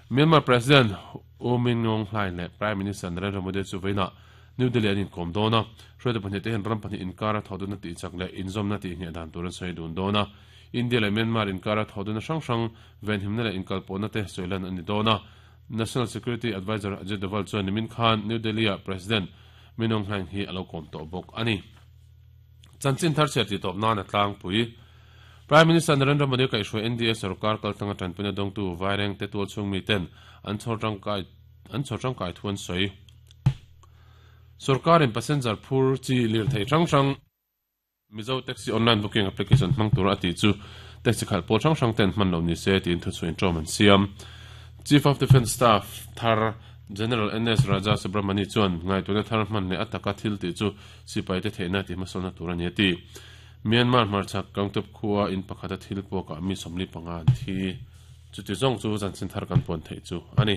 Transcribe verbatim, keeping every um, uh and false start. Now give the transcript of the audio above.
Myanmar President U Min Aung Hlaing leh Prime Minister Narendra Modi chu vawiinah New Delhi an inkawm dawn a, hruaitu pahnih te hian ram pahnih inkara thawhdunna tih chak leh inzawmna tih ngheh dan tur an sawi dun dawn a. India leh Myanmar inkara thawhdunna hrang hrang venhimna leh inkalpawhna te sawilan a ni dawn a. National Security Adviser Ajit Doval chuan nimin khan New Delhi-ah President Min Aung Hlaing hi a lo kawm tawh bawk a ni. Chanchin thar chhiar tih tawp nan a tlangpui. Prime Minister Narendra Modi kaihhruai N D A sorkar kaltanga tanpuina dawngtu Vaireng te tual chhung miten an chhawr tangkai an chhawr tangkai thu an sawi. Sorkarin passenger phur chi lirthei hrang hrang Mizo Taxi Online Booking Application hmang tura a tih chu taxi khalh pawl hrang hrang ten hman lo ni se tiin thuchhuah inṭawm an siam. Chief of Defence Staff thar General N S Raja Subramani chuan ngaihtuahna thar hman leh a taka thil tih chu sipaite theihna tih hmasawnna tur a ni a ti. Myanmar hmarchhak Gangtok khua in pakhata thil puakah mi sawmli panga an thi. Chuti zawng chu zanchin thar kan puan theih chu a ni.